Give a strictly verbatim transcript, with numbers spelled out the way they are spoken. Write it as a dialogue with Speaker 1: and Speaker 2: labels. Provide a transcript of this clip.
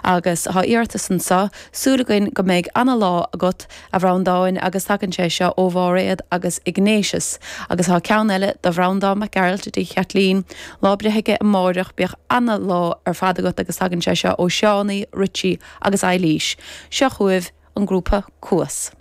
Speaker 1: Agus tá iarratas anseo, súil againn go mbeidh ana-lá agat, a Bhreandáin, agus tagann sé seo ó Mháiréad agus Ignatius. Agus tá ceann eile do Bhreandán Mac Gearailt i dtigh Chaitlín, lá breithe aige amáireach, bíodh ana-lá ar fad agat agus tagann sé seo ó Seánie, Richie agus Eilís. Seo chugaibh an grúpa Cuas.